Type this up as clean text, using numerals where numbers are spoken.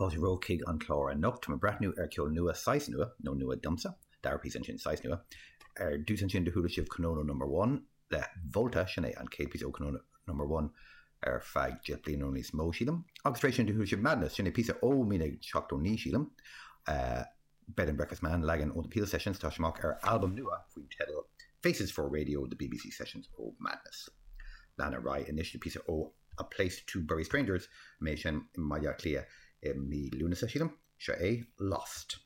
Fáilte romhaibh chuig an chlár anocht. Tá mé ag breathnú ar cheol nua, saghas nua, nó nua domsa, dara píosa ansin, saghas nua. Ar dtús ansin do chuala sibh Konono Number One le Volta, sin é an chéad píosa ó Konono Number One ar feadh 10 bliana nó níos mó, sílim. Agus tar éis sin do chuala sibh Madness, sin é píosa ó 1979, sílim. Bed and Breakfast Man, leagan ó The Peel Sessions, tá sé amach ar albam nua faoin teideal Faces for Radio, The BBC Sessions of Madness. Lean ar aghaidh anois le píosa ó A Place to Bury Strangers, a mbeidh ag seinm i mBaile Átha Cliath i mí Lúnasa, sílim. Seo é Lost.